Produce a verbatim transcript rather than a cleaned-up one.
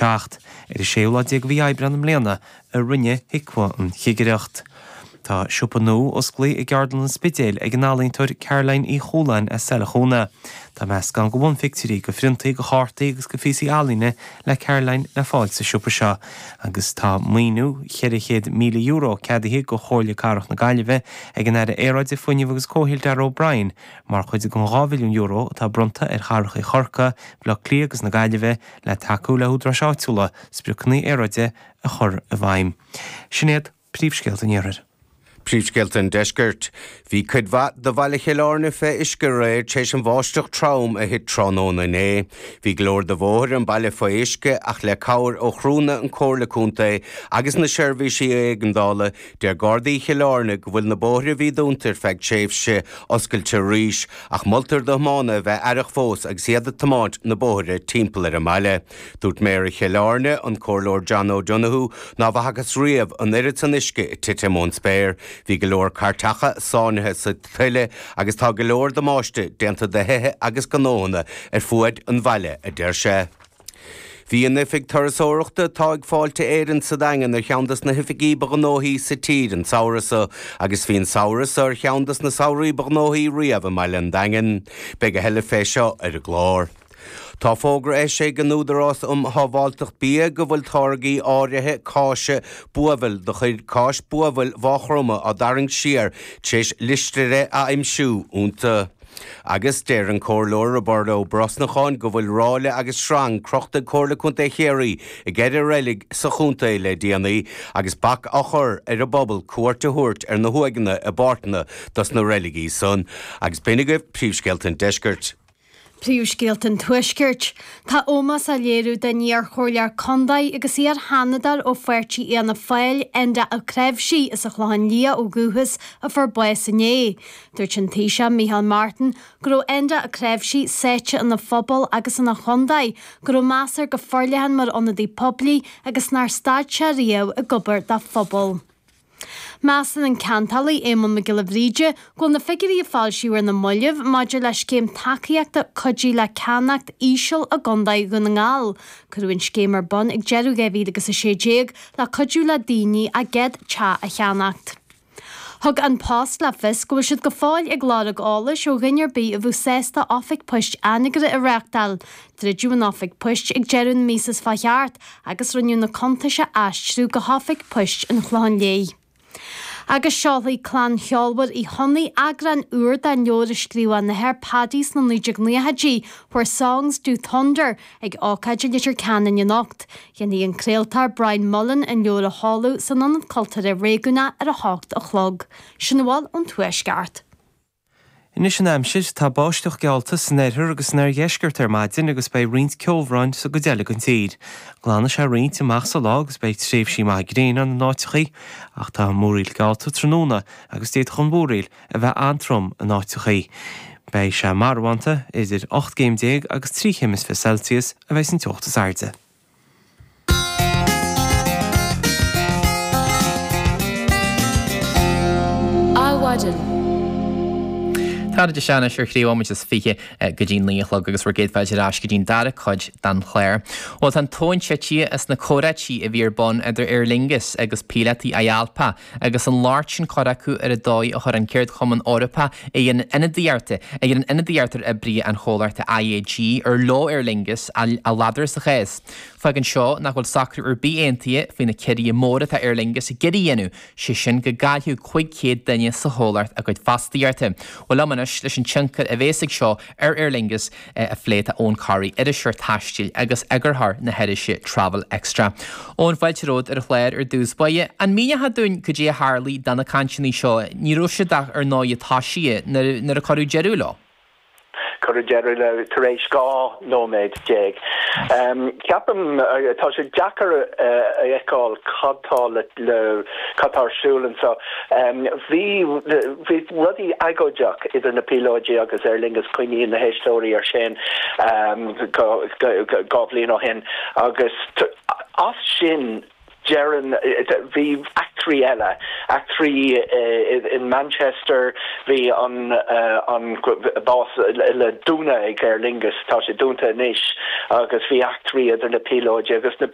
seacht. Ar an séú lá déag de mhí Aibreán i mbliana a rinne HIQA an chigireacht. Tá siopa nua osclaithe i gCeardlann an Spidéil ag an ealaíontóir Caroline Uí Chualáin as Saileach Úna. Tá meascán de bhunphictiúirí, de phriontaí, de chártaí agus de phíosaí ealaíne le Caroline le fáil sa siopa seo. Agus tá maoiniú cheithre chéad míle euro ceadaithe do Chomhairle Cathrach na Gaillimhe ag an Aire Aeráide, Fuinnimh agus Comhshaoil Darragh O'Brien mar chuid den dhá mhilliún euro atá bronnta ar chathracha Chorcaí, Bhaile Átha Cliath agus na Gaillimhe le tacú le húdaráis áitiúla spriocanna aeráide a chur i bhfeidhm. Sin iad príomhscéalta an iarthair. Príomhscéalta an deiscirt. Bhí cuid mhaith de bhaile Chill Airne fé uisce aréir tar éis an bháisteach trom a thit tráthnóna inné. Bhí go leor de bhóithre an baile fé uisce ach le cabhair ó chriúnna an Comhairle Contae agus na seirbhísí éigeandála, deir Gardaí Chill Airne go bhfuil na bóithre a bhí dúnta ar feadh tréimhse oscailte arís, ach moltar do thiománaithe a bheith aireach fós agus iad ag tiomáint na bóithre timpeall ar an mbaile. Dúirt Méara Chill Airne, an Comhairleoir John O'Donoghue, ná bhfacthas riamh an oiread san uisce ag titim ón spéir. Bhí go leor cairteacha sáinnithe sa tuile agus tá go leor damáiste déanta do thithe agus gnóthanna ar fuaid an bhaile, a deir sé. Bhí an oifig turasóireachta atá ag Fáilte Éireann sa Daingean ar cheann des na hoifigí ba ghnóthaí sa tír an samhradh seo agus bhí an samhradh seo ar cheann des na samhraí ba ghnóthaí riamh i mbaile an Daingin. Beidh a thuilleadh fé seo ar an gclár. Tá fógra eisithe ag an Údarás um Shábháilteacht Bia go bhfuil táirgí áirithe cáise buabhaill de chuid Cáis Buabhaill Mhaigh Chromtha á dtarraingt siar tar éis listéire a aimsiú iontu. Agus deir an Comhairleoir Roibeárd Ó Brosnacháin go bhfuil ráille agus sreang crochta ag Comhairle Contae Chiarraí i gceithre reilig sa chontae le déanaí agus bac á chur ar an bpobal cuairt a thabhairt ar na huaigheanna i bpáirteanna dos na reiligí san. Agus b'in agaibh príomhscéalta an deiscirt. Príomhscéalta an Tuaiscirt. Tá ómós á léiriú don iar-chomhairleoir contae agus iar-sheanadóir ó pháirtí Fhianna Fáil, Enda Ó Cnáimhsí as an Chlochán Liath ó dhúchas a fuair bás inné. Dúirt an Taoiseach Micheál Martin go raibh Enda Ó Cnáimhsí sáite ina phobal agus ina chontae, go raibh meas air go forleathan mar ionadaí poiblí agus nár stad sé riamh ag obair dá phobal. Measann an ceantálaí Éamonn Mac Giolla Bhríde go bhfuil na figiúirí a foilsíodh ar na mallaibh maidir le scéim tacaíochta Cuidigh le Ceannacht íseal i gContae Dhún na nGall. Cuireadh an scéim ar bun ag deireadh dhá mhíle agus a sé déag le cuidiú le daoine a gcéad teach a cheannacht. Thug An Post le fios go bhfuil siad go fóill ag lorg eolais ó dhuine ar bith a bheadh sásta oifig poist Anagaire a reáchtáil. Druideadh an oifig poist ag deireadh na míosa seo chuaigh thart agus rinneadh na cuntais a aistriú go hoifig poist an Chlocháin Léith. Agus seolfaidh clann cheolmhar Uí Chonnaith eagrán úr den leabhar a scríobh a n-athair Paddy sna naoi déag naochaidí, Where Songs Do Thunder, ag ócáid i Leitir Ceanainn anocht. Déanfaidh an craoltóir Brian Mullen an leabhar a sheoladh san Ionad Cultúrtha Réigiúnach ar a hocht a chlog. Sin a bhfuil ón Tuaisceart. Anois an aimsir, tá báisteach geallta san oirthear agus san oirdheisceart ar maidin agus beidh roinnt ceobhráin sa gcuid eile den tír. Glanfaidh sé roinnt amach sa lá agus beidh tréimhsí maithe gréine ann in áiteachaí, ach tá múraíl geallta tráthnóna agus d'fhéadfadh an mhúraíl a bheith an-trom in áiteachaí. Beidh sé marbhánta, idir ocht gcéim déag agus trí chéim is fiche Celsius a bheidh san teocht is airde. Adhmhaidin. Tá sé anois ar thrí nóiméad is fiche go dtí naoi a chlog agus bhur gcéad fáilte ar ais go dtí'n dara cuid den chlár. Bhuel tá an tóin tite as na comhráití a bhí ar bun idir Aer Lingus agus píolótaí IALPA agus an locht sin curtha acu ar an dóigh a chuir an Ceardchumann Eorpach a dhéanann ionadaíocht a dhéanann ionadaíocht ar oibrithe an chomhlachta IAG ar leo Aer Lingus a ladar sa chás. Fágann seo nach bhfuil socrú ar bith aontaithe faoi na ciorruithe móra atá Aer Lingus ag iarraidh a dhéanamh, sé sin go gcaillfeadh cúig chéad duine sa chomhlacht a gcuid fostaíochta. Bhuel liom anois leis an tionchar a bhéas ag seo ar Aer Lingus a phlé tá Eoin Corry, iriseoir taistil agus eagarthóir na hirise Travel Extra. Eoin, fáilte romhat ar an chlár ar dtús báire. An míneofá dúinn cad é a tharlaigh do na cainteanna seo? Ní raibh siad ach ar ndóigh tosaithe nuair a cuireadh deireadh leo. Cuireadh deireadh leo tar éis dhá nóiméad déag. Ceapaim, tá sé deacair a fheiceáil cad tá le, cad tá ar siúl anseo. Bhí, bhí rudaí agóideach idir na píolóidí agus Aer Lingus, cuimhníonn na héisteoirí ar sin dhá bhliain ó shin agus as sin, Deireann, bhí eachtraí eile eachtraí in Manchester bhí an an bás le dúnadh ag Aer Lingus tá sé dúnta anois agus bhí eachtraí idir na píolóid agus na